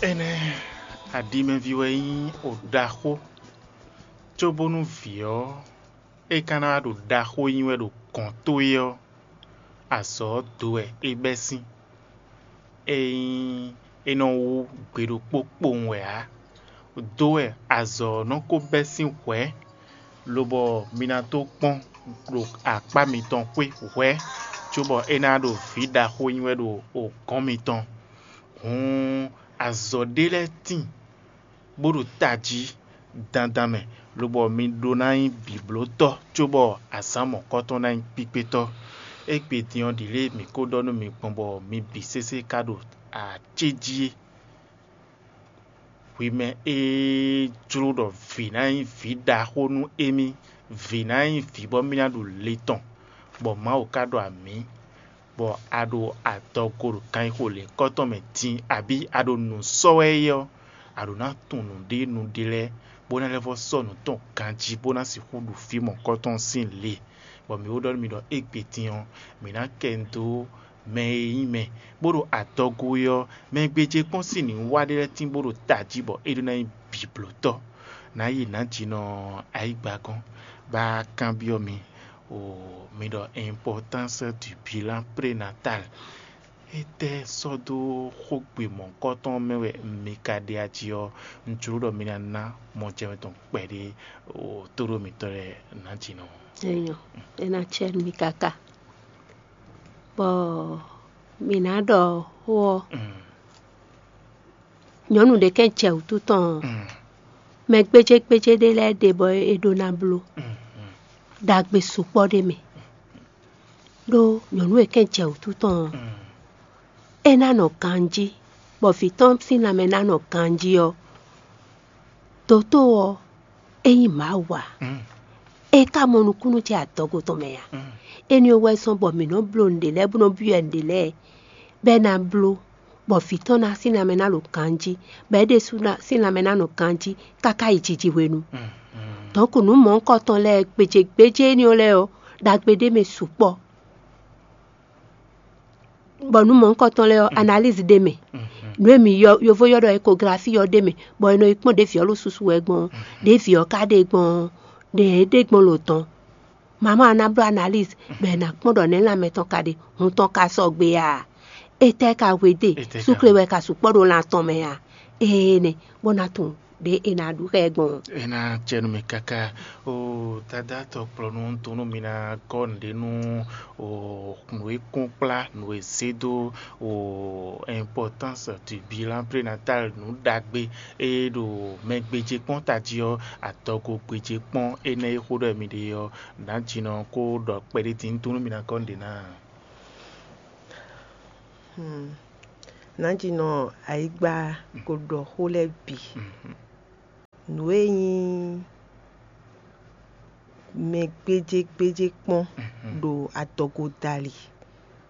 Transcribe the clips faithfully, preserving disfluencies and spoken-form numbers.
Énɛ́, aɖimɛví wɛ nyí oɖaxó, cóbónú vǐ ɔ́, é ka ná wá ɖo ɖaxó nyí wɛ ɖo gɔ̌n towe ɔ́, azɔ̌ ɔ́ do wɛ é bɛ́ sín. É nyí é nɔ wú gbe ɖokpó kpowun wɛ ǎ. Do wɛ azɔ̌ ɔ́ nɔ ko bɛ́ sín hwɛ̌, lobɔ mi ná dó kpɔ́n ɖo akpá mitɔn xwé hwɛ̌, cóbɔ é ná ɖo vǐ ɖaxó nyí wɛ ɖo gɔ̌n mitɔn. Hǔn azɔ̌ ɖé lɛ́ɛ tíin bó ɖo tají dandan mɛ, lobɔ mi ɖó ná nyí bǐblótɔ́, cóbɔ azǎn mɔ̌kɔtɔn ná nyí kpíkpétɔ́. Égbé din ɔ́, ɖǐ lě mǐ ko ɖɔ nú mi gbɔn bɔ mi bǐ sésé ka ɖo acéjí é. Hwi mɛ e jló ɖɔ vǐ ná nyí vǐ ɖaxó nú émí, vǐ ná nyí vǐ bɔ mì ná ɖu le tɔn, bɔ Mawu ka ɖɔ amǐ, bɔ a ɖo adɔgo ɖo ganxixo lěhunkɔtɔn mɛ din, abǐ a ɖo nǔ sɔ́ wɛ é ɔ́, a ɖǒ ná tunwun nǔɖé nǔɖé lɛ́ɛ, bó ná lɛ́ vɔ́ sɔ́ nǔ tɔn ganjí, bó ná sixú ɖu fí mɔ̌kɔtɔn sín le, bɔ mǐ ó ɖɔ nú mi ɖɔ égbé din ɔ́, mǐ ná kɛ nu dó mɛ e nyí mɛ, bó ɖo adɔgo é ɔ́, mɛ e gbéjé kpɔ́n sín nǔwiwa ɖé lɛ́ɛ tín bó ɖo tají bɔ é ɖó ná nyí bǐblótɔ́. Nǎ yi nǎjínɔ ayǐgba gɔ́n, bá kanbyɔ́ mi, o mi ɖɔ importance du bilan prénatal. Étɛ́ sɔ́ dó xógbe mɔ̌hunkɔtɔn mɛ wɛ mi ka ɖe aji ɔ́, un jló ɖɔ mi ná ná mɔjɛmɛ tɔn kpɛɖé o tóɖó mitɔ́ lɛ́ɛ nǎjínɔ. Enyɔ, é ná cɛ nú mi káká. Bɔ mǐ ná ɖɔ xó ɔ́, nyɔ̌nu ɖě kɛn jɛ wǔtu tɔn ɔ́, mɛ gbéjégbéjé ɖé lɛ́ɛ ɖe bɔ é ɖó ná bló ɖagbe sukpɔ́ ɖé mɛ. Ɖó nyɔ̌nu e kɛn jɛ wǔtu tɔn ɔ́, é ná nɔ ganjí, bɔ vǐ tɔn sín lanmɛ ná nɔ ganjí ɔ́, dotó ɔ́, é nyí Mawu ǎ. É ka mɔ nukúnnú ce adɔgo tɔn mɛ ǎ. Énɛ́ ɔ́ wɛ zɔ́n bɔ mǐ nɔ́ bló nǔɖé lɛ́ɛ bó nɔ́ byɔ́ ɛ nǔɖé lɛ́ɛ, bɔ é ná bló, bɔ vǐ tɔn ná sín lanmɛ ná ɖo ganjí, bɔ é ɖésú ná sín lanmɛ ná nɔ ganjí káká yi jiji hwenu. Dɔ̌nku nǔ mɔ̌hunkɔtɔn lɛ́ɛ gbějégbéjé énɛ́ ɔ́ lɛ́ɛ ɔ́, ɖagbe ɖé mɛ sukpɔ́. Bɔ nǔ mɔ̌hunkɔtɔn lɛ́ɛ ɔ́, analyse ɖ'é mɛ. Nǔ e mǐ ylɔ́, yovo ylɔ́ ɖɔ échographie ɔ́ ɖ'é mɛ, bɔ è nɔ yi kpɔ́n ɖě vǐ ɔ́ ɖo susu wɛ gbɔn ɔ́, ɖě vǐ ɔ́ ka ɖe gbɔn ɔ́, ɖě é ɖe gbɔn lǒ tɔn. Mama ɔ́ ná bló analyse, bɔ è nǎ kpɔ́n ɖɔ nɛ̌ lanmɛ tɔn ka ɖe, hun tɔn ka sɔgbe a? Étɛ́ ka hwedó e? Súkle wɛ ka sukpɔ́ ɖo lan tɔn mɛ a? Éené, bó ná tunwun ɖě è nǎ ɖu xá ɛ gbɔn ɔ́. É ná jɛ nú mì káká. O dadá tɔkplɔ́nú, un tunwun nú mi ná gɔ́ nǔɖé nú o nǔ e kún kplá, nǔ e zé dó o importance du bilan prénatal, nǔ ɖagbe e ɖo mɛ gbéjé kpɔ́n tají ɔ́, adɔgo gbéjé kpɔ́n énɛ́ e xó ɖɔ mi ɖe ɔ́, nǎjínɔ kó ɖɔ kpɛɖé din, un tunwun nú mi ná gɔ́ nǔɖé ná. Nǎjínɔ ayǐgba ko ɖɔ xó lɛ́ɛ bǐ. Nǔ e nyí mɛ gbéjégbéjé kpɔ́n ɖo adɔgo dali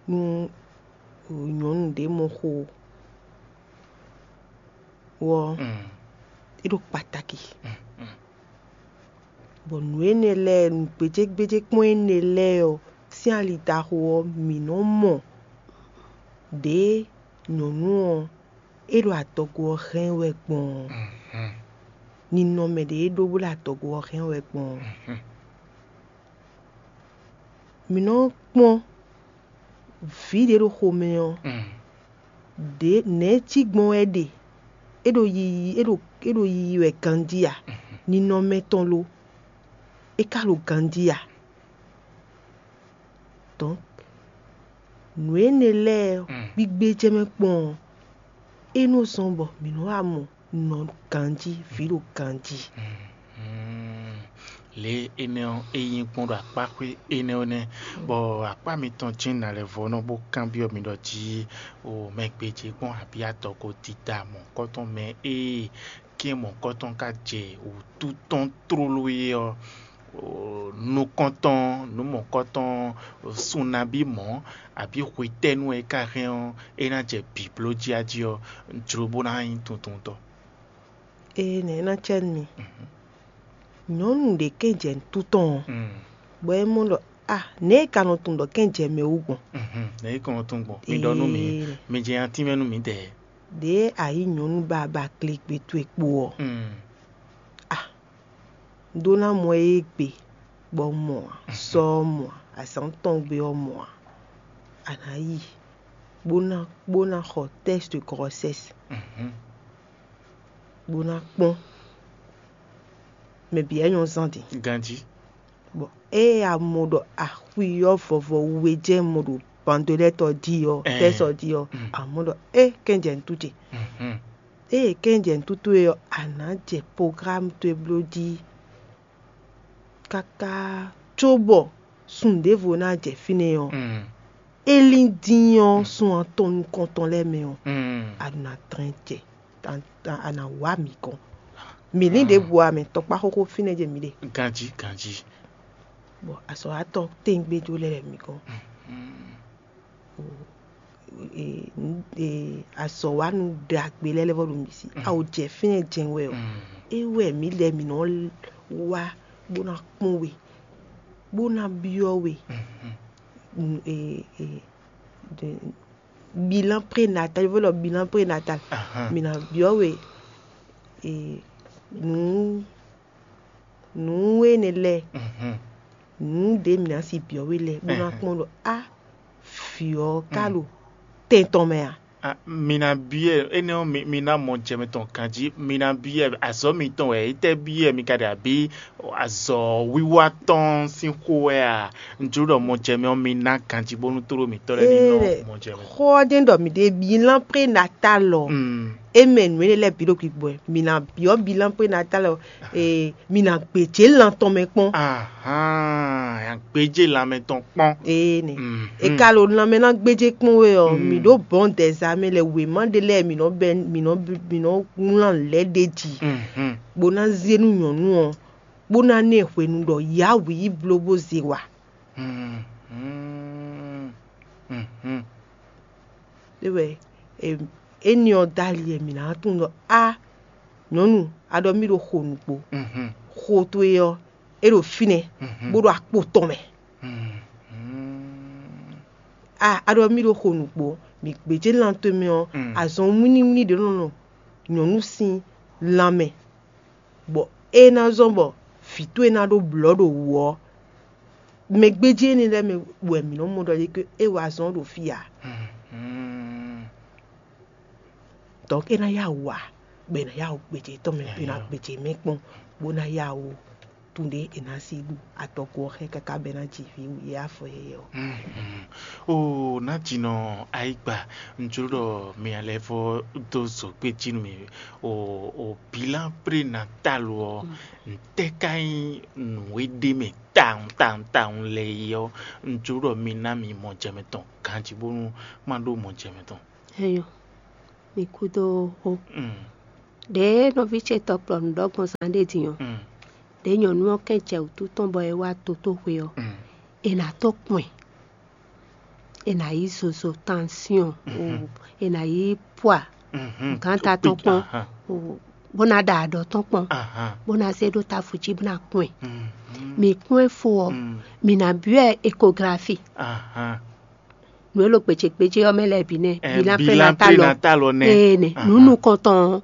nú nyɔ̌nu ɖě mɔ xo ɔ́, é ɖo kpataki. Bɔ nǔ énɛ́ lɛ́ɛ, nǔ gbéjégbéjé kpɔ́n énɛ́ lɛ́ɛ ɔ́, sín ali ɖaxó ɔ́, mǐ nɔ́ mɔ ɖě nyɔ̌nu ɔ́ é ɖo adɔgo ɔ́ hɛn wɛ gbɔn ɔ́, ninɔmɛ ɖě é ɖó bó ɖo adɔgo ɔ́ hɛn wɛ gbɔn ɔ́. Mǐ nɔ́ kpɔ́n vǐ ɖě ɖo xomɛ ɔ́, ɖě nɛ̌ cí gbɔn wɛ é ɖe? É ɖo yiyi é ɖo é ɖo yiyi wɛ ganjí a? Ninɔmɛ tɔn lo? É ka ɖo ganjí a? Donc nǔ énɛ́ lɛ́ɛ gbígbé jɛ́n mɛ kpɔ́n ɔ́, é nɔ zɔ́n bɔ mǐ nɔ́ wá mɔ nɔ ganjí, vǐ ɖo ganjí. Lě énɛ́ ɔ́, é nyí gbɔn ɖo akpáxwé énɛ́ ɔ́ nɛ́, bɔ akpá mitɔn jɛ́n nǎ lɛ́ vɔ́ nɔ bó kanbyɔ́ mi ɖɔ jí o mɛ gbéjé gbɔn abǐ adɔgo dida mɔ̌kɔtɔn mɛ e kɛ́n mɔ̌kɔtɔn ka jɛ wǔtu tɔn tlóló é ɔ́, nukɔntɔn, nǔ mɔ̌kɔtɔn, sunabí mɔ̌, abǐ hwetɛ́nu e ka hɛn ɔ́, é ná jɛ bǐbló jí a jí ɔ́, jló bó ná nyí tuntuntɔ́. Ee, nɛ̌ é ná cɛ nú mi? Nyɔ̌nu ɖě kɛn jɛ nǔtú tɔn ɔ́, bɔ é mɔ ɖɔ a nɛ̌ é ka nɔ tunwun ɖɔ kɛn jɛ mɛ wú gbɔn? Nɛ̌ é ka nɔ tunwun gbɔn? Mi ɖɔ nú mì, mi jɛ atínmɛ nú mǐdɛɛ. Ɖě a yǐ nyɔ̌nu ba ba klegbe towe kpo ɔ́, a ɖó ná mɔ ée gbe bɔ mɔ ǎ, sɔ ɔ́ mɔ ǎ, azǎn tɔn gbe ɔ́ mɔ ǎ. A nǎ yi bó ná bó ná xɔ tɛ́st de grɔsɛ́s, bó ná kpɔ́n mɛ bǐ wɛ nyɔ́ zán din. Ganjí. Bɔ ée a mɔ ɖɔ axwi ɔ́ vɔvɔ we jɛ́n mɔ ɖo bandolɛ́tɔ jí ɔ́, tɛ́sɔ jí ɔ́, a mɔ ɖɔ é kɛn jɛ nǔtú ce. Ée kɛn jɛ nǔtú towe ɔ́, a nǎ jɛ programme towe bló jí káká cóbɔ sun ɖěvo ná jɛ fínɛ́ ɔ́, é lín dín ɔ́, sun atɔn nukɔntɔn lɛ́ɛ mɛ ɔ́, a nǎ dlɛ́n jɛ, a nǎ wá mǐ gɔ́n. Mǐ lín ɖěbǔ ǎ, mɛ tɔkpá xóxó fínɛ́ jɛ mǐ ɖe. Ganjí, ganjí. Bɔ azɔ̌watɔ́ tɛ́ngbéjó lɛ́ɛ wɛ mǐ gɔ́n. Azɔ̌wanu ɖagbe lɛ́ɛ lɛ́ vɔ ɖo mǐ sí. A ò jɛ fínɛ́ jɛ́n wɛ ɔ́, é wɛ mǐ lɛ́ɛ mǐ nɔ wá bó ná kpɔ́n we, bó ná byɔ́ we. Bilan prénatal, yovó ɖɔ bilan prénatal. Mǐ ná byɔ́ we nǔ nǔ énɛ́ lɛ́ɛ, nǔ ɖě mǐ ná si byɔ́ we lɛ́ɛ, bó ná kpɔ́n ɖɔ á vǐ ɔ́ ka ɖo tɛn tɔn mɛ a? Mi ná byɔ́ ɛ énɛ́ ɔ́, mi ná mɔ jɛ mɛ tɔn ganjí. Mi ná byɔ́ ɛ azɔ̌ mitɔn wɛ é tɛ́ byɔ́ ɛ mi ka ɖe abǐ azɔ̌ wiwa tɔn sín xó wɛ a? Un jló ɖɔ mɔ jɛ mɛ ɔ́, mi ná ganjí bónú tlóló mǐtɔn lɛ́ɛ ní nɔ mɔ jɛ mɛ. Xó ɔ́ jɛ́n ɖɔ mǐ ɖe bilan prénatal ɔ́, é mɛ nǔ énɛ́ lɛ́ɛ bǐ ɖo gbigbɔ ɛ. Mi ná byɔ́ bilan prénatal ɔ́, mi ná gbějé lan tɔn mɛ kpɔ́n. Ahan, gbéjé lanmɛ tɔn kpɔ́n. Ee nɛ. E ka ɖo lanmɛ ná gbéjé kpɔ́n we ɔ́, mǐ ɖó bɔ̌n dɛ̌zamɛ lɛ wěma ɖé lɛ́ɛ mǐ nɔ bɛ́ mǐ nɔ mǐ nɔ wlán lɛ̌ ɖ'é jí, bó ná zé nú nyɔ̌nu ɔ́, bó ná ná ɛ hwenu ɖɔ yǎ wǐ yi bló bó zé wa. É wɛ éni ɔ́ dó ali wɛ mǐ ná tunwun ɖɔ á nyɔ̌nu, a ɖɔ mì ɖo xo nǔgbó. Xo towe ɔ́, é ɖo fínɛ́, bó ɖo akpo tɔn mɛ. A a ɖɔ mì ɖo xo nǔgbó, mǐ gbějé lan towe mɛ ɔ́, azɔn wínníwínní ɖě nɔ nɔ nyɔ̌nu sín lanmɛ, bɔ é ná zɔ́n bɔ vǐ towe ná ɖó blɔ̌ ɖo wǔ ɔ́, mɛ gbéjé énɛ́ lɛ́ɛ mɛ wɛ mǐ nɔ mɔ ɖɔ é wá zɔ́n ɖo fí ǎ. Donc é ná yá wǔ ǎ, bɔ è nǎ yá wǔ gbějé tɔn mɛ, è nǎ gbějé mɛ kpɔ́n, bó ná yá wǔ tun ɖé è nǎ si ɖu adɔgo ɔ́ xɛ káká bɔ é ná ji vǐ wǔ yɛ afɔ yɛyɛ ɔ́. Oo, nǎjinɔ ayigba, un jló ɖɔ mi lɛ́ vɔ́ dó zǒgbé jí nú mì. O o bilan prénatal ɔ́, ntɛ́ ka nyí nǔ e ɖ'é mɛ tawun tawun tawun lɛ́ɛ é ɔ́, un jló ɖɔ mi ná mi mɔ jɛ mɛ tɔn ganjí bónú má ɖó mɔ jɛ mɛ tɔn. Eyo, mi kúdó xó. Ɖěe nɔví ce tɔkplɔ́nu ɖɔ gbɔn zán ɖé din ɔ́, ɖěe nyɔ̌nu ɔ́ kɛn jɛ wǔtu tɔn bɔ é wá totóxwe ɔ́, è nǎ tó kpɔn ɛ, è nǎ yí zozo tansyɔn, è nǎ yí pwa, gǎnta tɔn kpɔn, bó ná ɖa aɖɔ tɔn kpɔn, bó ná zé ɖó tafu jí bó ná kpɔn ɛ. Mǐ kpɔ́n ɛ fó ɔ́, mǐ ná byɔ́ ɛ ekografi. Nǔ e ɖo gbějégbéjé ɔ́ mɛ lɛ́ɛ bǐ nɛ́, bilan prénatal ɔ́. Ee nɛ, nǔ nukɔntɔn ɔ́,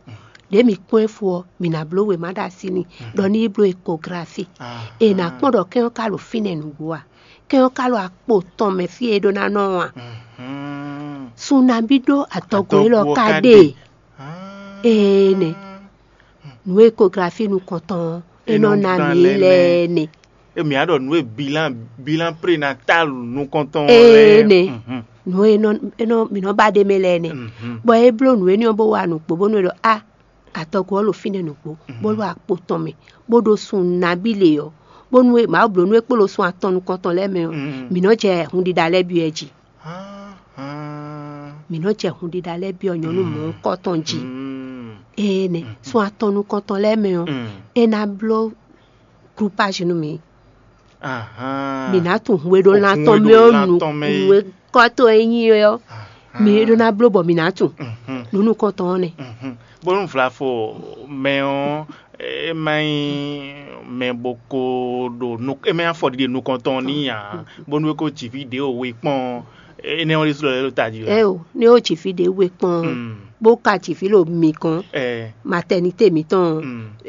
ɖě mǐ kpɔ́n ɛ fó ɔ́, mǐ ná bló wěma ɖo así n'i, ɖɔ ní yi bló ekografi. È nǎ kpɔ́n ɖɔ kɛ́n ɔ́ ka ɖo fínɛ́ nǔgbó a? Kɛ́n ɔ́ ka ɖo akpo tɔn mɛ fí e é ɖó ná nɔ ɔ́ a? Sun nabí ɖó adɔgo élɔ́ ka ɖe? Ee nɛ, nǔ ekografi nukɔntɔn ɔ́, é nɔ ná mǐ lɛ́ɛ nɛ. Emi a ɖɔ nǔ e bilan bilan prénatal nukɔntɔn ɔ́ lɛ́ɛ. Ee nɛ, nǔ e nɔ e nɔ mǐ nɔ ba ɖ'é mɛ lɛ́ɛ nɛ, bɔ é bló nǔ énɛ́ ɔ́ bó wa nǔgbó bónú é ɖɔ a, adɔgo ɔ́ ɖo fínɛ́ nǔgbó, bó ɖo akpo tɔn mɛ, bó ɖo sun nabí lě ɔ́, bónú Mawu bló nú é kpo ɖo sun atɔn nukɔntɔn lɛ́ɛ mɛ ɔ́, mǐ nɔ jɛ hunɖiɖa lɛ́ɛ byɔ́ ɛ jí. Mǐ nɔ jɛ hunɖiɖa lɛ́ɛ byɔ́ nyɔ̌nu mɔ̌hunkɔtɔn jí. Ee nɛ, sun atɔn nukɔntɔn lɛ́ɛ mɛ ɔ́, é ná bló glupázi nú mǐ. Mǐ ná tunwun hweɖólan tɔn mɛ ɔ́ nu, nǔ e kɔ́ to e nyí é ɔ́, mǐ ɖó ná bló bɔ mǐ ná tunwun. Nǔ nukɔntɔn ɔ́ nɛ́. Bónú vlafo mɛ ɔ́, é má nyí mɛ bó ko ɖo é má nyí afɔɖiɖe nukɔntɔn n'i ǎ, bónú é ko ji fí ɖě o we kpɔ́n ɔ́, énɛ́ ɔ́ ɖésú lɔ lɛ́ ɖo tají wɛ. Ɛ o, ní ó ji fí ɖě we kpɔ́n ɔ́, bó ka ji vǐ ɖo mǐ gɔ́n, matɛnité mǐtɔn,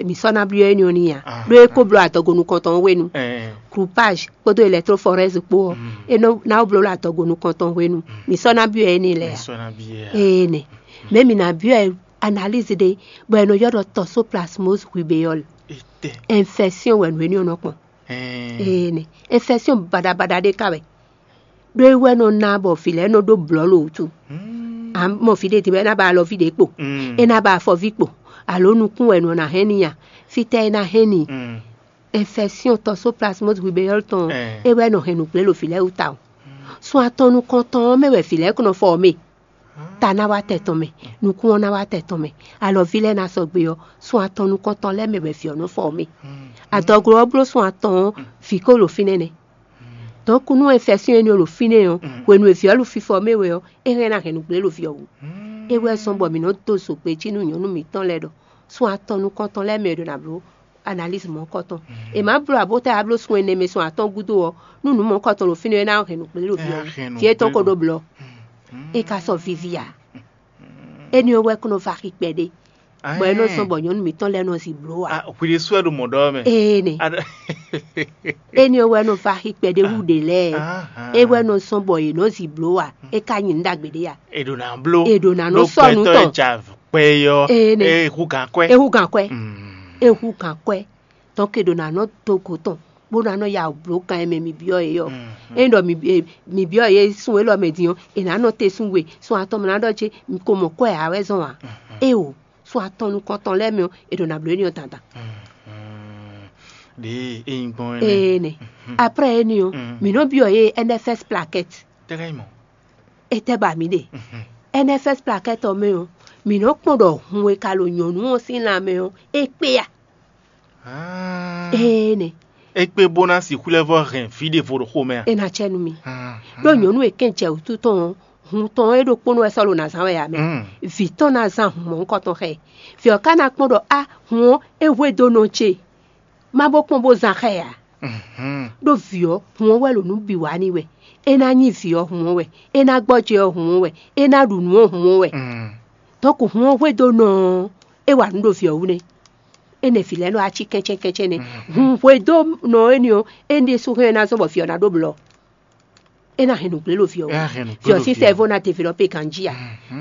mǐ sɔ́ ná byɔ́ énɛ́ ɔ́ n'i ǎ. Ɖó é ko bló adɔgo nukɔntɔn hwenu, groupage kpódó électrophorèse kpó ɔ́, é nɔ ná bló ɖo adɔgo nukɔntɔn hwenu, mǐ sɔ́ ná byɔ́ énɛ́ lɛ́ɛ ǎ. Énɛ́, mɛ mǐ ná byɔ́ analyse ɖé, bɔ è nɔ ylɔ́ ɖɔ toxoplasmose rubéole, infection wɛ nǔ énɛ́ ɔ́ nɔ kpɔn. Énɛ́, infection baɖabaɖa ɖé ka wɛ. Ɖó é wɛ nɔ ná bɔ vǐ lɛ́ɛ nɔ ɖó blɔ̌ ɖo wútu. A mɔ vǐ ɖé din bɔ é ná ba alɔví ɖě kpo, é ná ba afɔví kpo, alo nukún wɛ nɔ ná hɛn n'i a? Fítɛ́ é ná hɛn n'i? Infection toxoplasmose rubéole tɔn, é wɛ nɔ hɛn nǔgblé ɖo vǐ lɛ́ɛ wú tawun. Sun atɔn nukɔntɔn ɔ́ mɛ wɛ vǐ lɛ́ɛ kɔn nɔ fɔ ɔ́ mɛ. Ta ná wá tɛ tɔn mɛ, nukún ɔ́ ná wá tɛ tɔn mɛ, alɔví lɛ́ɛ ná sɔgbe ɔ́, sun atɔn nukɔntɔn lɛ́ɛ mɛ wɛ vǐ ɔ́ nɔ fɔ ɔ́ mɛ. Adɔglo ɔ́ bló sun atɔn ɔ́, vǐ ko ɖo fínɛ́ nɛ́. Donc nú infection énɛ́ ɔ́ ɖo fínɛ́ ɔ́, hwenu e vǐ ɔ́ ɖo fífɔ mɛ wɛ ɔ́, é hɛn ná hɛn nǔgblé ɖo vǐ ɔ́ wú. É wɛ zɔ́n bɔ mǐ nɔ dó zogbe jí nú nyɔ̌nu mǐtɔn lɛ́ɛ ɖɔ sun atɔn nukɔntɔn lɛ́ɛ mɛ è ɖo ná bló analyse mɔ̌hunkɔtɔn. È má bló abota e a bló sun ɛnɛ mɛ sun atɔn gúdo ɔ́, nú nǔ mɔ̌hunkɔtɔn ɖo fínɛ́ ɔ́, é ná hɛn nǔgblé ɖo vǐ ɔ́ wú. Vǐ étɔn ko ɖó blɔ̌, é ka sɔ́ víví ǎ. Énɛ́ ɔ́ wɛ kún nɔ va xi kpɛɖé, bɔ é nɔ zɔ́n bɔ nyɔ̌nu mǐtɔn lɛ́ɛ nɔ zi bló ǎ. Hwi ɖésú wɛ ɖo mɔ̌ ɖɔ mɛ. Énɛ́, énɛ́ ɔ́ wɛ nɔ va xi kpɛɖé hú ɖě lɛ́ɛ. É wɛ nɔ zɔ́n bɔ yě nɔ zi bló ǎ. É ka nyí nǔ ɖagbe ɖé ǎ. È ɖǒ ná bló. È ɖǒ ná nɔ sɔ́ nǔ tɔn. Kpɛ ɔ́, é hú gǎn kwɛ́. É hú gǎn kwɛ́. É hú gǎn kwɛ́. Donc è ɖǒ ná nɔ dó go tɔn, bó ná nɔ ya wǔ bló kan e mɛ mi byɔ́ é ɔ́. Ényí ɖɔ mi byɔ́ é sun élɔ́ mɛ din ɔ́, è nǎ nɔ te sun we, sun atɔn mɛ ná ɖɔ ce mi ko mɔ kwɛ́ ǎ wɛ zɔn ǎ. Éeǒ, sun atɔn nukɔntɔn lɛ́ɛ mɛ ɔ́, è ɖǒ ná bló énɛ́ ɔ́ dandan. Ɖěe é nyí gbɔn é nɛ́. Énɛ́. Après énɛ́ ɔ́, mǐ nɔ byɔ́ yě N F S plaquette. Tɛ́ ká nyí mɔ̌? Étɛ́ ba mǐ ɖe? N F S plaquette ɔ́ mɛ ɔ́, mǐ nɔ kpɔ́n ɖɔ hun e ka ɖo nyɔ̌nu ɔ́ sín lanmɛ ɔ́, é kpé a? Énɛ́. É kpé bó ná sixú lɛ́ vɔ́ hɛn vǐ ɖěvo ɖo xomɛ a? É ná cɛ nú mi. Ɖó nyɔ̌nu e kɛn jɛ wǔtu tɔn ɔ́, hun tɔn ɔ́ é ɖokpónɔ wɛ sɔ́ ɖo ná zán wɛ ǎ mɛ. Vǐ tɔn ná zán hun mɔ̌hunkɔtɔn xá ɛ. Vǐ ɔ́ ka ná kpɔ́n ɖɔ á hun ɔ́ é hwedó nɔ ce. Má bó kpɔ́n bó zán xá ɛ ǎ. Ɖó vǐ ɔ́, hun ɔ́ wɛ ɖo nǔ bǐ wa n'i wɛ. É ná nyí vǐ ɔ́ hun ɔ́ wɛ. É ná gbɔjɛ́ ɔ́ hun ɔ́ wɛ. É ná ɖu nǔ ɔ́ hun ɔ́ wɛ. Dɔ̌nkɔ hun ɔ́ hwedó nɔ ɔ́, é wa nǔ ɖo vǐ ɔ́ wú nɛ́. Énɛ́ vǐ lɛ́ɛ nɔ wá cí kɛ́ncɛ́n kɛ́ncɛ́n nɛ́. Hun hwedó nɔ énɛ́ ɔ́, énɛ́ ɖésú hɛn ɔ́ ná zɔ́n bɔ vǐ ɔ́ ná ɖó blɔ̌. É ná hɛn nǔgblé ɖo vǐ ɔ́ wú. Vǐ ɔ́ sín sɛ́vó ná develɔpé ganjí ǎ.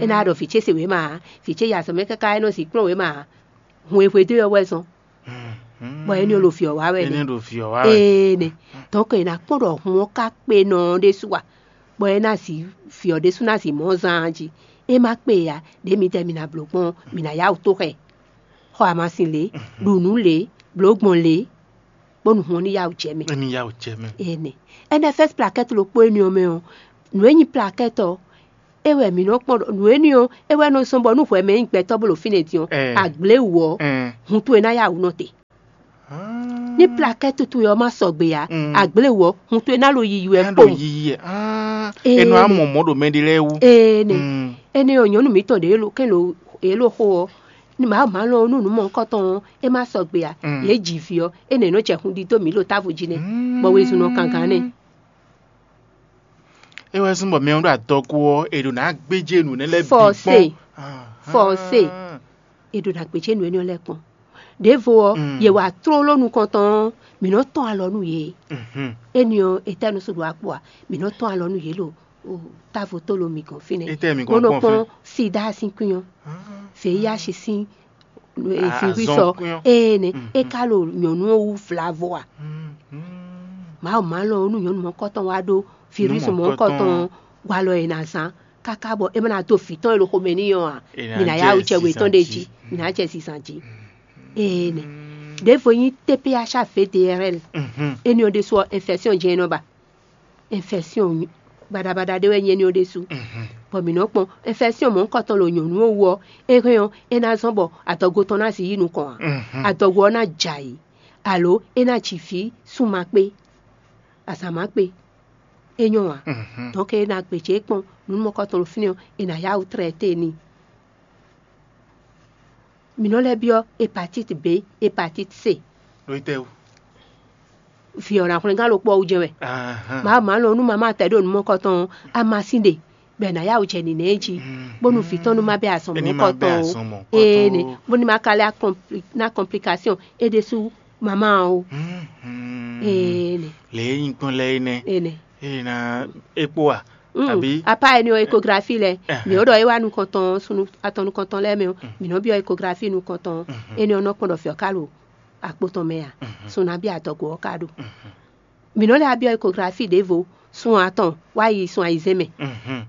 É ná ɖɔ vǐ ce se wěma ǎ. Vǐ ce yi azɔ̌ mɛ káká é nɔ zǐn kplɔ́n wěma ǎ. Hun e hwedó ɔ́ wɛ zɔ́n. Bɔ énɛ́ ɔ́ ɖo vǐ ɔ́ wá wɛ nɛ́. Énɛ́. Dɔ̌nkɔ è nǎ kpɔ́n ɖɔ hun ɔ́ ka kpe nɔ ɔ́ ɖésú a? Bɔ é ná zǐ vǐ ɔ́ ɖésú ná zǐ mɔ̌ zán jí. É má kpe ǎ, ɖě midɛɛ mi ná bló gbɔn ɔ́, mi ná yá wǔ tó xɛ. Xɔ amasin lě, ɖu nǔ lě, blǒ gbɔn lě, bónú hun ɔ́ ní yá wǔ jɛ mɛ. Ní yá wǔ jɛ mɛ. Énɛ́. N F S plaquette ɖokpó énɛ́ ɔ́ mɛ ɔ́, nǔ e nyí plaquette ɔ́, é wɛ mǐ nɔ kpɔ́n ɖɔ nǔ énɛ́ ɔ́, é wɛ nɔ zɔ́n bɔ nú hwɛ mɛ nyí gbɛtɔ́ bó ɖo fínɛ́ din ɔ́, agbléwǔ ɔ́, hun towe ná yá wǔ nɔ te. Ní plaquette towe ɔ́ má sɔgbe ǎ, agbléwǔ ɔ́, hun towe ná ɖo yiyi wɛ kpowun. Yiyi ɛ. É nɔ amɔ mɔ̌ ɖo mɛ ɖé lɛ́ɛ wú. Énɛ́. Énɛ́ ɔ́, nyɔ̌nu mǐtɔn ɖě lo kɛn lo é lo xo ɔ́, ní mǎ má lɔn nú nǔ mɔ̌hunkɔtɔn ɔ́, é má sɔgbe ǎ. Yě ji vǐ ɔ́, énɛ́ nɔ jɛ hun ɖidó mǐ ɖo távo jí nɛ́, bɔ wezun nɔ kan gǎn nɛ́. É wɛ zɔ́n bɔ mɛ ɔ́ ɖo adɔgo ɔ́, è ɖo nǎ gbéjé nǔ énɛ́ lɛ́ɛ bǐ kpɔ́n. Forcé. È ɖo nǎ gbéjé nǔ énɛ́ lɛ́ɛ kpɔ́n. Ɖěvo ɔ́, yě wá tlóló nukɔntɔn ɔ́, mǐ nɔ tɔ́n alɔ nú yě. Énɛ́ ɔ́, etɛ́ nɔ sú ɖo akpo a? Mǐ nɔ tɔ́n alɔ nú yě ɖo távo tó lo mǐ gɔ́n fínɛ́. Bó nɔ kpɔ́n sida sín kwín ɔ́, V I H sín virus ɔ́, énɛ́ é ka ɖo nyɔ̌nu ɔ́ wú vlavo a? Mawu má lɔn nú nyɔ̌nu mɔ̌kɔtɔn wá ɖó virus mɔ̌kɔtɔn walɔ e ná zán káká bɔ é má ná dó vǐ tɔn e ɖo xomɛ n'i ɔ́ ǎ. Mǐ ná yá wǔ jɛ wětɔn ɖé jí, mǐ ná jɛ zizan jí. Énɛ́. Ɖěvo nyí T P H A V D R L. Énɛ́ ɔ́ ɖésú ɔ́, infection jɛ́n é nɔ ba. Infection baɖabaɖa ɖé wɛ nyí énɛ́ ɔ́ ɖésú. Bɔ mǐ nɔ kpɔn infection mɔ̌kɔtɔn ɖo nyɔ̌nu ɔ́ wú ɔ́, é hɛn ɔ́, é ná zɔ́n bɔ adɔgo tɔn ná zǐ yi nukɔn ǎ. Adɔgo ɔ́ ná jɛ ayǐ, alo é ná ji vǐ sunma kpé, azǎn má kpé. É nyɔ́ ǎ. Donc é ná gbějé kpɔ́n nǔ mɔ̌kɔtɔn ɖo fínɛ́ ɔ́, è nǎ yá wǔ traité n'i. Mǐ nɔ lɛ́ byɔ́ hépatite B, hépatite C. Ɖó tɛ́ wú? Vǐ ɔ́ ná hwlɛ́ngán ɖokpó ɔ́ wú jɛ́n wɛ. Mawu má lɔn nú mamá tɛ ɖo nǔ mɔ̌kɔtɔn ɔ́, amasin ɖe. bɔ è nǎ yá wǔ jɛ nǐnɛ jí, bónú vǐ tɔn nú má bɛ́ azɔn mɔ̌hunkɔtɔn o. Énɛ́, bónú má ka lɛ́ ná complication é ɖésú mamá ɔ́ o. Énɛ́. Lě e nyí gbɔn lɛ́ɛ é nɛ́. Énɛ́. É ná é kpó a? Àbí? Apá énɛ́ ɔ́, ékografi lɛ́ɛ, mǐ ó ɖɔ é wá nukɔntɔn, sunu atɔn nukɔntɔn lɛ́ɛ mɛ ɔ́, mǐ nɔ byɔ́ ékografi nukɔntɔn ɔ́. Énɛ́ ɔ́ nɔ kpɔ́n ɖɔ fǐ ɔ́ ka ɖo akpo tɔn mɛ a? Sun nabí adɔgo ɔ́ ka ɖo. Mǐ nɔ lɛ́ byɔ́ ékografi ɖěvo, sun atɔn wá yi sun ayizɛ́n mɛ.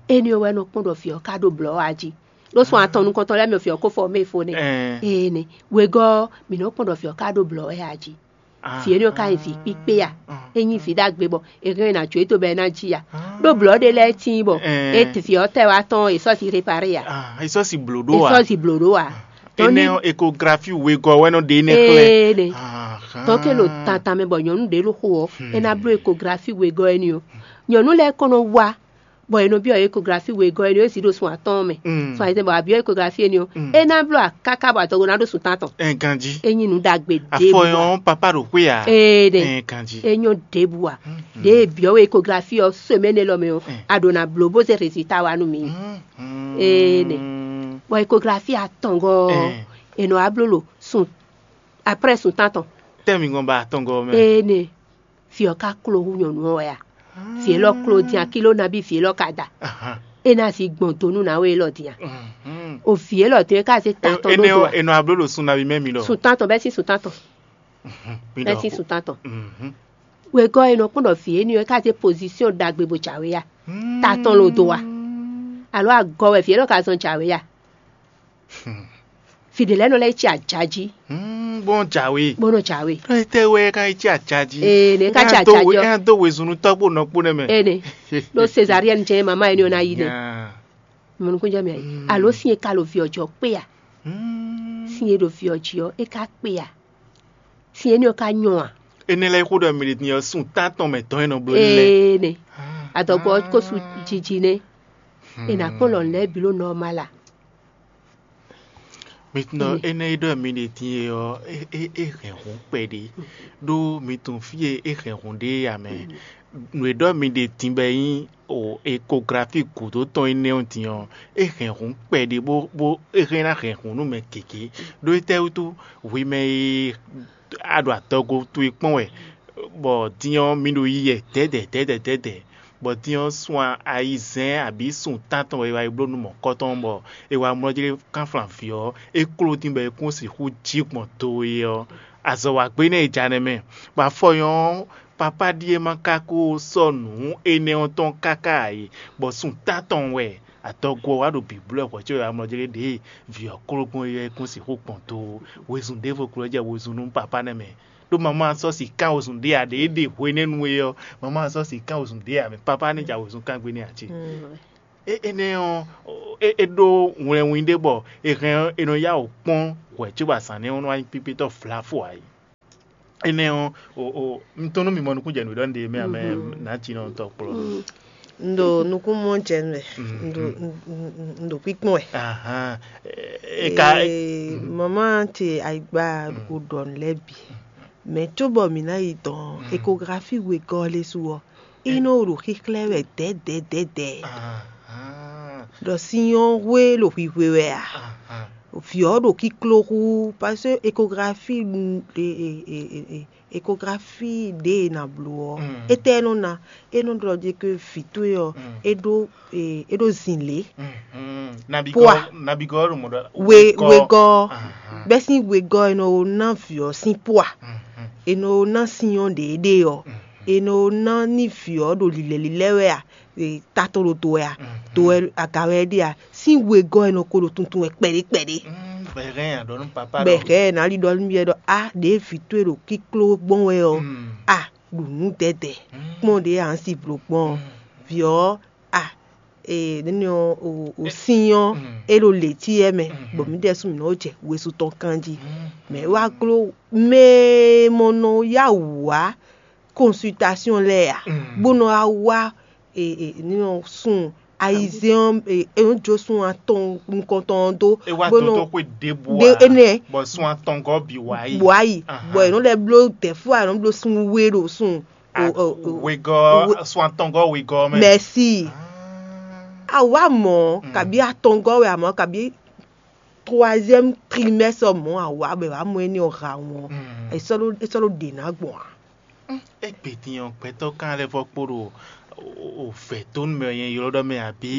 Énɛ́ ɔ́ wɛ nɔ kpɔ́n ɖɔ fǐ ɔ́ ka ɖo blɔ̌ a jí. Ɖó sun atɔn nukɔntɔn lɛ́ɛ mɛ ɔ́, fǐ ɔ́ ko fɔ mɛ fo nɛ́. Énɛ́. Wegɔ́ ɔ́, mǐ nɔ kpɔ́n ɖɔ fǐ ɔ́ ka ɖo blɔ̌ wɛ a jí. Vǐ énɛ́ ɔ́ ka nyí vǐ kpíkpé a? É nyí vǐ ɖagbe bɔ è hɛn ɛ ná jó e to bɔ é ná jí a? Ɖó blɔ̌ ɖé lɛ́ɛ tíin bɔ é vǐ ɔ́ tɛ wá tɔn è sɔ́ si réparé a? Ah, é sɔ́ si blǒ ɖó È a? Sɔ́ si blǒ ɖó a? Dɔn Énɛ́ ní ɔ́, ékografi wegɔ́ wɛ nɔ ɖe énɛ́ xlɛ́. Ee ɖe. Ahán. Dɔn ke lo tantan mɛ bɔ nyɔ̌nu ɖě ló xo ɔ́, é ná bló ékografi wegɔ́ énɛ́ ɔ́. Nyɔ̌nu lɛ́ɛ ko nɔ wá bɔ è nɔ byɔ́ ékografi wegɔ́ énɛ́ ɔ́, é zǐ ɖo sun atɔ́ɔ́n mɛ. Mm. Sun ayizɛ́n bɔ a byɔ́ ékografi énɛ́ ɔ́, Mm. é ná bló akáká bɔ adɔgo ná ɖó sun tántɔn. Ɛ ganjí. É nyí nǔ ɖagbe ɖěbǔ. Afɔ ɔ́, papa ɖo xwé a? Ee ɖe. Ɛ ganjí. É nyɔ́ ɖěbǔ a? Mm. Ɖě e byɔ́ we ékografi ɔ́ semaine élɔ́ mɛ ɔ́, Mm. a ɖǒ ná bló bó zé résultat wá nú mì. Mm. Ee ɖe. Bɔ ékografi atɔngɔ́ ɔ́, Mm. è nɔ wá bló ɖo sun après sun tántɔn. Tɛ́ mi gɔn ba atɔngɔ́ mɛ. Ee nɛ. Vǐ ɔ́ ka kló hú nyɔ̌nu ɔ́ wɛ a? Vǐ élɔ́ kló dín akíló nabí vǐ élɔ́ ka da. Ahán. É ná zi gbɔn do nú nǎwe élɔ́ dín a? Mhm. O vǐ élɔ́ dín é ka zé ta tɔn Énɛ́ ɖó ɔ́, do a? È nɔ abló ɖo sun nabí mɛ mi lɔ. Sun tántɔn bɛ́ sín sun tántɔn. Mhm. Mi Bɛ́ lɔ sín xo. Sun tántɔn. Mhm. Wegɔ́ e nɔ kpɔ́n ɖɔ vǐ énɛ́ ɔ́ é ka zé pozísyɔn ɖagbe bó jǎwe a? Ta tɔn lo do a? Alo agɔ wɛ vǐ élɔ́ ka zɔn jǎwe a? Vǐ ɖé lɛ́ɛ nɔ lɛ́ yi cí ajǎ jí. Hmm, bó nɔ jǎwe. Bó nɔ jǎwe. Étɛ́ wɛ é ka yi cí ajǎ jí? Ee, nɛ é ka cí ajǎ jí ɔ́. É ná dó wezun nú tɔ́gbó nɔkpó nɛ́ mɛ. Ee, nɛ. Ɖó Cézarienne jɛ́n mamá énɛ́ ɔ́ ná yí nɛ́. Nyaa. Mɔnukúnjɛ mɛ ayi. Alo sin e ka ɖo vǐ ɔ́ jí ɔ́ kpé a? Hmm. Sin e ɖo vǐ ɔ́ jí ɔ́, é ka kpé a? Sin énɛ́ ɔ́ ka nyɔ a? Énɛ́ lɛ́ɛ xó ɖɔ mɛ ɖě din ɔ́, sun tántɔn mɛ tɔn e nɔ bló ní lɛ́ɛ. Ee, nɛ. Adɔgbɔ ɔ́ ko su jiji nɛ́. È nǎ kpɔ́n lɔ̌n lɛ́ɛ bǐ ɖo nɔ́ ɔ́ má la. Mi tunɔ énɛ́ e ɖɔ mi ɖe din e ɔ́, é é é hɛn hǔn kpɛɖé, ɖó mi tunwun fí e é hɛn hǔn ɖe é ǎ mɛ. Nǔ e ɖɔ mi ɖe din bɔ é nyí o ékografi gǔdo tɔn énɛ́ ɔ́ din ɔ́, é hɛn hǔn kpɛɖé bó bó é hɛn ná hɛn hǔn nú mɛ gěgé. Ɖó étɛ́ wútu hwi mɛ e a ɖo adɔgo towe kpɔ́n wɛ, bɔ din ɔ́ mi ɖo yi yɛ dɛ̌dɛ̌ dɛ̌dɛ̌ dɛ̌dɛ̌, bɔ din ɔ́ sun ayizɛ́n abǐ sun tántɔn wɛ è wá yi bló nú mɔ̌kɔtɔn, bɔ è wá mlɔ́ jlé kánflán vǐ ɔ́, é kló dín bɔ é kún sixú jí gbɔn do e ɔ́, azɔ̌ wa gbé nɛ́ è ja nɛ́ mɛ, bɔ afɔ nyɔ́ ɔ́, papá ɖíe ma ka ko sɔ́ nǔ énɛ́ ɔ́ tɔn káká ǎ é, bɔ sun tántɔn wɛ adɔgo ɔ́ wá ɖo bǐblɔ́ hwɛ̌ có è wá mlɔ́ jlé ɖě vǐ ɔ́ kló gbɔn é ɔ́, é kún sixú gbɔn do. Wezun ɖěvo ko lɛ́ jɛ wezun nú papá nɛ́ mɛ. Ɖó mamá ɔ́ sɔ́ sǐká wezun ɖé ǎ, ɖě é ɖe hwenɛ́nu é ɔ́, mamá ɔ́ sɔ́ sǐká wezun ɖé ǎ, mɛ papá nɛ́ ja wezun kán gbe n'i ǎ ce. Mm. É énɛ́ ɔ́, é é ɖó wlɛnwin ɖé bɔ è hɛn ɔ́, è nɔ yá wǔ kpɔ́n hwɛ̌ cóbɔ azǎn nɛ́ ɔ́ nɔ wá nyí kpíkpétɔ́ vlafo ǎ é. Énɛ́ ɔ́, o o un tunwun nú mi mɔ nukúnjɛnǔ ɖɔ un ɖe mɛ amɛ nǎjínɔ tɔkplɔ́. Un ɖo nukún mɔ jɛ nú wɛ. Un ɖo un- un- un- un ɖo kpíkpɔ́n wɛ. Ahan. E ka Ee, mama ce ayigba o ɖɔ nǔ lɛ́ɛ bǐ. Mɛ cóbɔ mǐ ná yi dɔn ékografi wegɔ́ lé su ɔ́, é nɔ ɖo xíxlɛ́ wɛ dɛ̌dɛ̌dɛ̌dɛ̌. Ahan. Ɖɔ sin ɔ́ hwe ɖo hwihwe wɛ a? Ahan. Vǐ ɔ́ ɖo kíkló hú, parce que ékografi ɖu- e- e- e- e- e- ékografi ɖě e nǎ bló ɔ́, Mm. étɛ́ é nɔ ná? É nɔ ɖɔ jí ke vǐ towe ɔ́, Mm. é ɖó e- é ɖó zǐnlé. Mhm. Nabigɔ Pua. Nabigɔ ɖo mɔ ɖɔ We- wegɔ́. Ahan. Bɛ́ sín wegɔ́ è nɔ ná vǐ ɔ́ sín pua. Mhm. È nɔ ná sin ɔ́ ɖě é ɖe ɔ́. Mhm. È nɔ ná ní vǐ ɔ́ ɖo lǐlɛ́lílɛ́ wɛ a? E, ta tɔn ɖo do wɛ a? Mhm. Do wɛ aga wɛ é ɖe a? Sín wegɔ́ è nɔ ko ɖo tuntun wɛ kpɛɖé kpɛɖé. Mm, bɔ è hɛn nya ɖɔ nú papa Bɛ ɖɔ hɛ ná li ɖɔ nú yɛ ɖɔ a ɖě vǐ towe ɖo kíkló gbɔn wɛ ɔ́, Mm. a ɖu nǔ dɛdɛ Mm. kpɔn ɖě a nsi blo gbɔn ɔ́. Mm. Vǐ ɔ́ a e nínú o o sin ɔ́ Mm. é ɖo lě tí yɛ mɛ Mm. bɔ mǐ ɖɛ́ sún mǐ nɔ jɛ wesu tɔn kan jí. Mm. Mɛ wá gló mɛ mɔ nɔ yá wǔ wá consultation lɛ́ɛ a Mm. bó nɔ wá wá e e nínú sun ayizɛ́n ɔ́ e e nɔ jó sun atɔn nukɔntɔn ɔ́ dó É wá bó nɔ dó tó xwe ɖěbǔ ɖe ǎ, énɛ́ bɔ sun atɔngɔ́ bǐ wá yi. Bɔ ayi Ahan. Bɔ è nɔ lɛ́ bló dɛ̌fú a nɔ bló sun we ɖo sun A- o- o- o- Wegɔ́ we- sun atɔngɔ́ wegɔ́ mɛ. Mɛsi. Ah. A wǎ mɔ̌, kabí atɔngɔ́ wɛ a mɔ̌, kabí troisième trimestre mɔ̌ a wǎ bɔ è wǎ mɔ énɛ́ ɔ́ ha wɔn. È sɔ́ ɖó è sɔ́ ɖó ɖě ná gbɔn a? Égbé din ɔ́, gbɛtɔ́ kan lɛ́ vɔ́ kpo ɖo o vɛ̌ tó nú mɛ e nyɛ ylɔ́ ɖɔ mɛ abǐ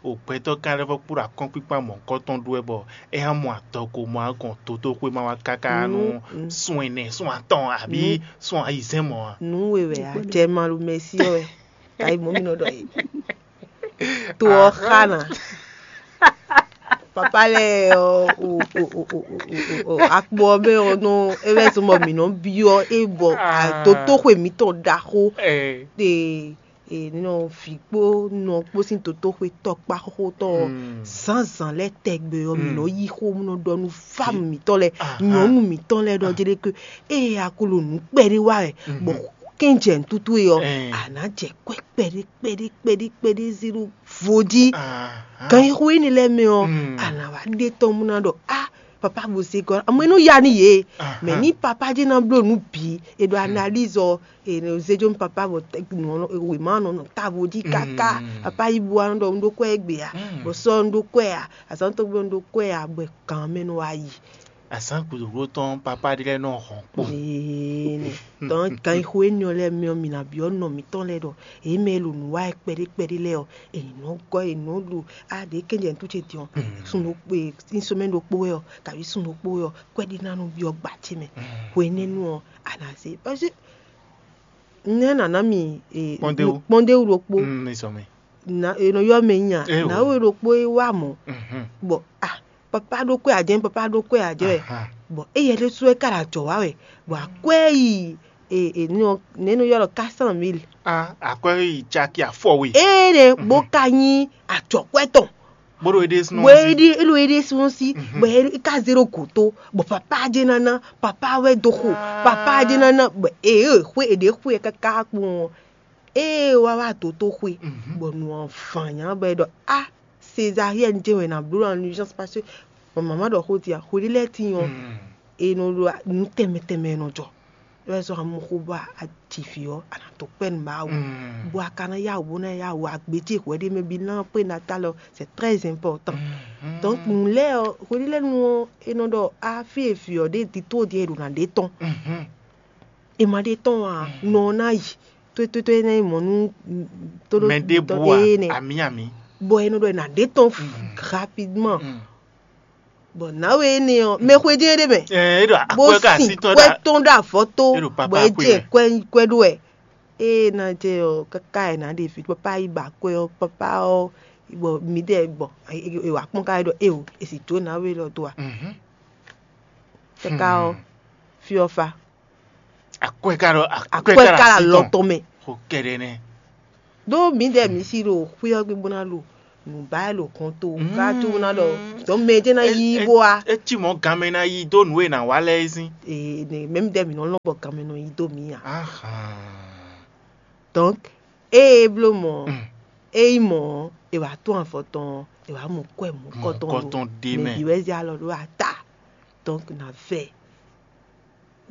o gbɛtɔ́ kan lɛ́ vɔ́ kpo ɖo akɔ́nkpíkpá mɔ̌hunkɔtɔn ɖó wɛ bɔ é hán mɔ adɔgo mɔ agɔn totóxwé ma wá káká nú sun ɛnɛ, sun atɔn abǐ sun ayizɛ́n mɔ̌ a? Nǔ we wɛ a jɛ malu mɛsí ɔ́ wɛ. Tayi mɔ̌ mi nɔ ɖɔ é. To ɔ́ xa ná. Papa lɛ́ɛ ɔ́, akpo ɔ́ mɛ ɔ́ nɔ é wɛ zɔn bɔ mǐ nɔ byɔ́ é bɔ dotóxwe mǐtɔn ɖaxó ɖe nɔ vǐ kpó nɔ kpó sín dotóxwe tɔkpá xóxó tɔn ɔ́, zǎnzǎn lɛ́ɛ tɛgbɛ ɔ́ mǐ nɔ yí xó nɔ ɖɔ nú fámu mǐtɔn lɛ́ɛ, nyɔ̌nu mǐtɔn lɛ́ɛ ɖɔ jɛɖɛ́ ké ée a ko ɖo nǔ kpɛɖé wa wɛ bɔ kɛ́njɛ nǔtútú e ɔ́, a nǎ jɛ kwɛ́ kpɛɖé kpɛɖé kpɛɖé kpɛɖé zé ɖó vo jí. Ganxixo énɛ́ lɛ́ɛ mɛ ɔ́, a nǎ wá ɖe tɔn bó ná ɖɔ á papa bo zé gɔ́ amɔ é nɔ ya nú yě. Mɛ ní papa jɛ́n ná bló nǔ bǐ è ɖo analyse ɔ́, è nɔ zé jó nú papa bɔ wěma nɔ nɔ távo jí káká. Papa yi bu wá nɔ ɖɔ un ɖó kwɛ́ égbé a, bɔ sɔ́ un ɖó kwɛ́ a, azǎn tɔn gbé un ɖó kwɛ́ a, bɔ gǎn mɛ nɔ wá yi. Azǎn gǔdo tɔn papa ɖé lɛ́ɛ nɔ hɔn kpo. Tɔn ganxixo énɛ́ ɔ́ lɛ́ɛ mɛ ɔ́, mi ná byɔ́ nɔ mǐtɔn lɛ́ɛ ɖɔ yě mɛ e ɖo nǔ wa wɛ kpɛɖé kpɛɖé lɛ́ɛ ɔ́, è nǐ nɔ gɔ́ è nǐ nɔ ɖo a ɖě kɛ́njɛ nǔtú ce din ɔ́, sun ɖokpó e sín sɔmɛ ɖokpó wɛ ɔ́, kaví sun ɖokpó wɛ ɔ́, kwɛ́ɖí ná nɔ byɔ́ gbǎ ce mɛ. Hwenɛ́nu ɔ́, a nǎ zé parce que nɛ́ nǎ ná mi kpɔ́ndéwú ɖokpó. È nɔ ylɔ́ mɛ nyi a? Nǎwe ɖokpó é wá mɔ̌. Bɔ a papa ɖó kwɛ́ ǎ jɛ́n, papa ɖó kwɛ́ ǎ jɛ́n wɛ. Bɔ éyɛ́ ɖésú wɛ ká ɖo ajɔ̌ wa wɛ. Bɔ akwɛ́ yi nɛ́ nɔ ylɔ́ ɖɔ quatre cent mille. Akwɛ́ yi caki afɔwe. Éɖe bó ka nyí ajɔ̌kwɛ́ tɔn. Bó ɖo éɖésúnɔ bó é ɖi é ɖo é ɖésúnɔ sí bɔ é ka zé ɖo gǒ tó bɔ papa jɛ nana papa wɛ dó xo papa jɛ nana bɔ é xwe é ɖě xwe káká kpɔn ɔ́. Ée wá wá dǒ tó xwe bɔ nǔ ɔ́ van nyá bɔ é ɖɔ a césarienne jɛ́n wɛ è nǎ bló en urgence parce que mama ɖɔ xó din a xwe ɖé lɛ́ɛ tíin ɔ́ è nɔ ɖo nǔ tɛnmɛ tɛnmɛ è nɔ jɔ. É wɛ zɔ́n amɔxo bɔ a ji vǐ ɔ́, a nǎ dó kpɛ́ nǔ Mawu, bɔ a ka ná yá wǔ bó ná yá wǔ agbejí hwɛɖémɛ bí ná prénatal ɔ́, c'est très important. Donc nǔ lɛ́ɛ ɔ́, hweɖélɛ́nu ɔ́, è nɔ ɖɔ a fí e vǐ ɔ́ ɖe dito ɖíe è ɖo ná ɖe tɔn. È ma ɖe tɔn ǎ, nɔ ɔ́ ná yi tótótó é ná yi mɔ̌ nú tóɖó mɛ ɖěbǔ tɔn a ɖé nɛ. Amǐ amǐ. Bɔ è nɔ ɖɔ è nǎ ɖe tɔn rapidement. Bɔ nǎwe énɛ́ ɔ́, mɛ xwedó é ɖé mɛ, Ɛ, é ɖo bó akwɛ́ ká sin así tɔn kwɛ́ ɖa. Tɔn ɖo avɔ tó, É ɖo papa bɔ é jɛ xwé mɛ. Kwɛ́ kwɛ́ ɖó wɛ. Ée ná jɛ ɔ́, káká è nǎ ɖe vǐ pápá yi ba kwɛ́ ɔ́, pápá ɔ́, bɔ mǐdɛɛ gbɔn, è wǎ kpɔ́n ká é ɖɔ éeǒ, è sì dǒ nǎwe élɔ́ dó a. Mhm. Káká ɔ́, fí ɔ́ fá. Akwɛ́ ká ɖo akwɛ́ Akwɛ́ ká ká ɖo la así lɔ tɔn. Tɔn mɛ. Xo kɛɖɛ nɛ. Ɖó mǐdɛɛ mǐ sí ɖo xwé ɔ́ gbe bó ná ɖo nǔ ba wɛ ɖo hɔn to ká tó ná ɖɔ dɔ̌n mɛ jɛ́n ná yí bó wá. É cí mɔ̌ ganmɛ ná yí dó nǔ e nǎ wa lɛ́ɛ é sín. Ee, ne mɛ mǐdɛɛ mǐ nɔ lɔn bɔ ganmɛ nɔ yí dó mǐ ǎ. Ahàn. Donc ée é bló mɔ̌ ɔ́, é nyí mɔ̌ ɔ́, è wǎ tún avɔ tɔn ɔ́, è wǎ mɔ kwɛ́ mɔ̌kɔtɔn Mɔ̌kɔtɔn ɖé mɛ. Mɛ bǐ wɛ zé alɔ ɖó ata. Donc nǎ vɛ.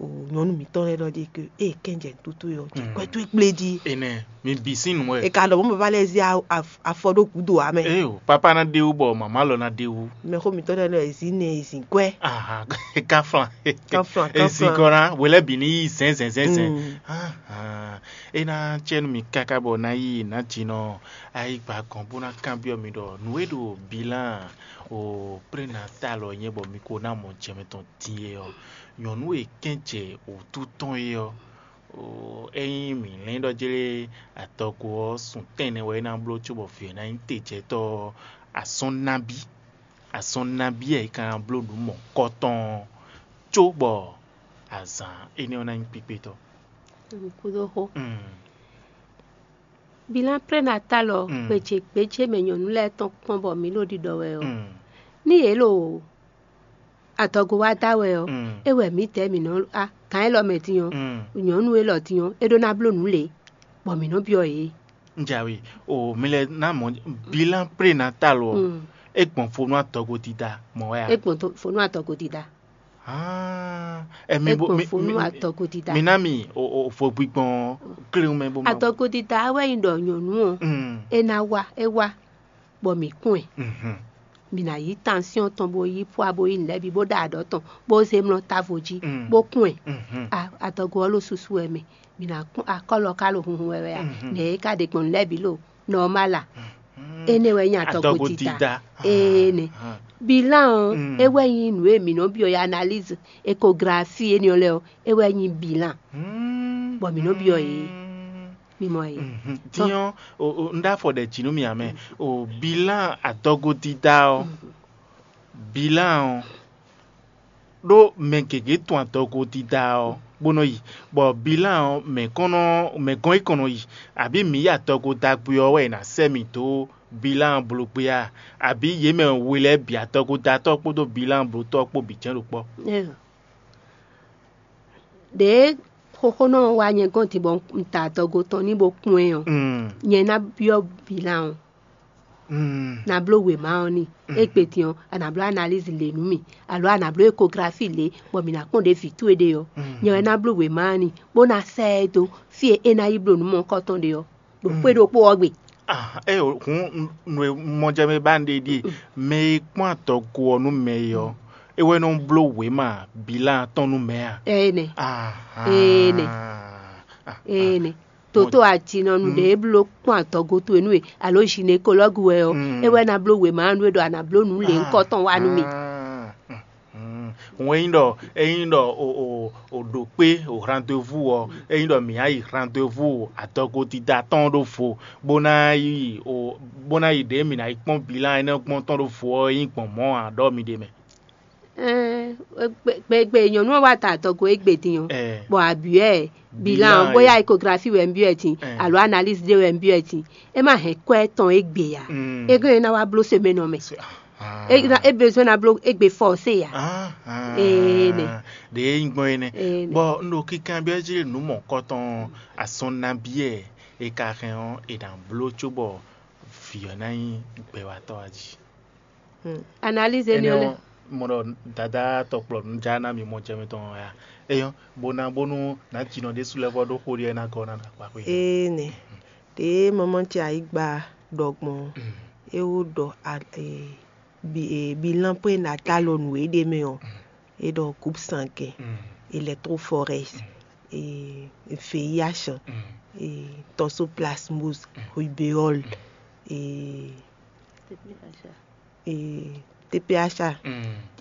O nyɔ̌nu mǐtɔn lɛ́ɛ ɖɔ ɖi ke ée kɛ́njɛ nǔtútú é ɔ́, jɛ kwɛ́ towe kplé jí. Enɛ, mi bǐ sín nǔ wɛ. È ka ɖɔ mɔ̌ baba lɛ́ɛ zé a- af- afɔ ɖó gǔdo ǎ mɛ. Ee o, papa ná ɖe wú bɔ màmá lɔ ná ɖe wú. Mɛ xó mǐtɔn lɛ́ɛ nɔ e zǐn nɛ e zǐn kwɛ́. Ahan, kaflan. Kaflan, Ezin kaflan. Kɔ ná, wě lɛ́ bǐ ní yí zɛ̌nzɛ̌nzɛ̌nzɛ̌n. Mm. Ahan, é ná cɛ nú mi káká bɔ ná yí nǎ jinɔ ayigba gɔn bó ná kanbyɔ́ mi ɖɔ nǔ e ɖo bilan o prénatal ɔ́ nyɛ bɔ mi ko ná mɔ jɛ mɛtɔn din é ɔ́, nyɔ̌nu e kɛ́n jɛ wǔtu tɔn é ɔ́, ényí mǐ lɛ́n ɖɔ jlé adɔgo ɔ́, sun tɛ́nnɛ wɛ é ná bló cóbɔ vǐ ɔ́ ná nyí tejɛtɔ́ ɔ́, azɔn nabí, azɔn nabí wɛ é ka ná bló nǔ mɔ̌kɔtɔn ɔ́, cóbɔ azǎn énɛ́ ɔ́ ná nyí kpíkpétɔ́? Kúdó xó. Mm. Bilan prénatal ɔ́, Mm. Gbějé gbějé mɛ nyɔ̌nu lɛ́ɛ tɔn kpɔ́n bɔ mǐ ɖo ɖiɖɔ wɛ ɔ́, Mm. Ní yě ɖo adɔgo wá da wɛ ɔ́, Mm. É wɛ mǐdɛɛ mǐ nɔ a gǎn élɔ́ mɛ din ɔ́, Mm. Nyɔ̌nu élɔ́ din ɔ́, é ɖó ná bló nǔ lě, bɔ mǐ nɔ byɔ́ yě. Njawe o mi lɛ ná mɔ bilan prénatal ɔ Mm. É gbɔn fo nú adɔgo dida mɔ wɛ a? É gbɔn to- fo nú adɔgo dida. Ah, ɛ mi É bo gbɔn mi fo nú mi adɔgo dida. Mi ná mi o o fo gbigbɔn kléwún mɛ bó ma. Adɔgo dida wɛ nyi ɖɔ nyɔ̌nu ɔ, Mm. É ná wá, é wá. bɔ mǐ kún ɛ. Mǐ ná yí tansyɔ́n tɔn, bó yí pwa, bó yí nǔ lɛ́ɛ bǐ, bó ɖa aɖɔ̌ tɔn, bó zé mlɔ́ távo jí, bó kún ɛ. Adɔgo ɔ́ ɖo susu wɛ mɛ. Mǐ ná kún akɔ́lɔ ká ɖo hunhun wɛ wɛ a? Nɛ̌ é ka ɖe gbɔn nǔ lɛ́ɛ bǐ ɖo nɔmál a? Énɛ́ wɛ nyí adɔgo dídá. Énɛ́. Bilan ɔ́, é wɛ nyí nǔ e mǐ nɔ byɔ́ yi analyse, échographie énɛ́ ɔ́ lɛ́ɛ ɔ́, é wɛ nyí bilan, bɔ mǐ nɔ byɔ́ yě. Mi mɔ yě. Din ɔ́, un ɖó afɔ ɖɛ jǐ nú mì ǎ mɛ. O bilan adɔgo dídá ɔ́, bilan ɔ́, ɖó mɛ gěgé tunwun adɔgo dídá ɔ́, bó nɔ yi, bɔ bilan ɔ́, mɛ kɔn nɔ, mɛ gɔn yi kɔn nɔ yi, abǐ mǐ yi adɔgo da gbé ɔ́ wɛ è nǎ sɛ́ mì dó bilan bló gbé a? Abǐ yě mɛ we lɛ́ɛ bǐ adɔgo da tɔ́ kpódó bilan bló tɔ́ kpó bǐ jɛ́n ɖo kpɔ́? Ɖěe xóxónɔ ɔ́ wá nyɛ gɔ́n din bɔ un ta adɔgo tɔn n'i bó kpɔ́n ɛ ɔ́, nyɛ ná byɔ́ bilan ɔ́. Na bló wěma ɔ́ n'i. Égbé din ɔ́, a nǎ bló analyse lě nú mì, alo a nǎ bló échographie lě, bɔ mǐ ná kpɔ́n ɖě vǐ towe ɖe ɔ́. Nyɛ wɛ ná bló wěma ɔ́ n'i, bó ná sɛ́ ɛ dó fí e é ná yi bló nǔ mɔ̌hunkɔtɔn ɖe ɔ́, ɖo xwé ɖokpó ɔ́ gbe. Ée hǔn nǔ e mɔ jɛ mɛ ba un ɖe ɖíe, mɛ e kpɔ́n adɔgo ɔ́ nú mɛ é ɔ́, é wɛ nɔ bló wěma bilan tɔn nú mɛ a? Énɛ́. Énɛ́. Énɛ́. Toto ajinɔnu ɖě e bló kpɔ́n adɔgo towe nú we, alo gynécologue wɛ ɔ́, é wɛ ná bló wěma nú we ɖɔ a nǎ bló nǔ lěhunkɔtɔn wá nú mì. Hǔn ényí ɖɔ ényí ɖɔ o o o ɖo kpé o rendez-vous ɔ́, ényí ɖɔ mǐ á yi rendez-vous adɔgo dídá tɔn ɖó vo, bó ná yi o bó ná yi ɖě mǐ ná yi kpɔ́n bilan énɛ́ gbɔn tɔn ɖó vo ɔ́, é nyí gbɔn mɔ̌ ǎ ɖɔ mi ɖe mɛ. Gbegbe nyɔ̌nu ɔ́ wá ta adɔgo égbé din ɔ́, bɔ a byɔ́ ɛ bilan ɔ́, bóyá échographie wɛ un byɔ́ ɛ din, alo analyse ɖé wɛ un byɔ́ ɛ din, é má hɛn kwɛ́ tɔn égbé ǎ. É gɔ́n é ná wá bló semaine ɔ́ mɛ. É ná- é besoin ná bló égbé forcé ǎ. Ee nɛ. Ɖě é nyí gbɔn é nɛ́. Ee nɛ. Bɔ un ɖo kinkanbyɔ́ jí nǔ mɔ̌kɔtɔn asɔn nabí e è ka hɛn ɔ́, è nǎ bló cóbɔ vǐ ɔ́ ná nyí gbɛwatɔ́ a jí. Analyse énɛ́ ɔ́ lɛ́ɛ. Mɔ ɖɔ dadá tɔkplɔ nǔ já ná mi mɔ jɛ mitɔn wɛ a? Eyɔ́, bó ná bónú nǎ jinɔ ɖésú lɛ́ɛ vɔ ɖó xó ɖiɛ ná gɔ́ ná ɖo akpa xwé. Ee nɛ. Ɖě mamá ce ayǐgba ɖɔ gbɔn é wó ɖɔ bilan pé nata lɔ nǔ e ɖ'é mɛ ɔ́, é ɖɔ groupe sanguin, électrophorèse, V I H, toxoplasmose, rubéole, T P H.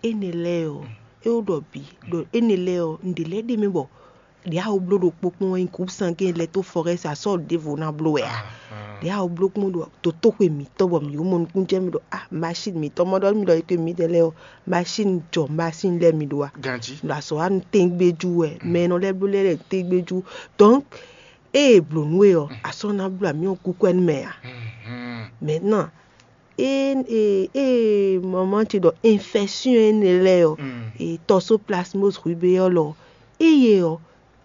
Énɛ́ lɛ́ɛ ɔ́, é wó ɖɔ bǐ ɖɔ énɛ́ lɛ́ɛ ɔ́, nǔɖé lɛ́ɛ ɖ'é mɛ bɔ ɖě a wǒ bló ɖokpó kpɔ́n wɛ nyí groupe sanguin électrophorèse, a sɔ́ ɖěvo ná bló wɛ a? Ɖě a wǒ bló kpɔ́n ɖo dotóxwe mǐtɔn bɔ mǐ wó mɔ nukúnnú jɛ mì ɖɔ a machine mǐtɔn mɔ ɖɔ mì ɖɔ é mǐdɛɛ lɛ́ɛ ɔ́, machine jɔ machine lɛ́ɛ mì ɖó a? Ganjí. Ɖo azɔ̌ wa nu tɛ́ngbéjú wɛ, mɛ e nɔ lɛ́ bló lɛ́ɛ lɛ́ɛ tɛ́ngbéjú. Donc ée è blǒ nú we ɔ́, a sɔ́ ná bló amyɔ kúkú ɛnú mɛ a? Maintenant ée ée ée maman ce ɖɔ infection énɛ́ lɛ́ɛ ɔ́, toxoplasmose rubéole ɔ́, ée ɔ́,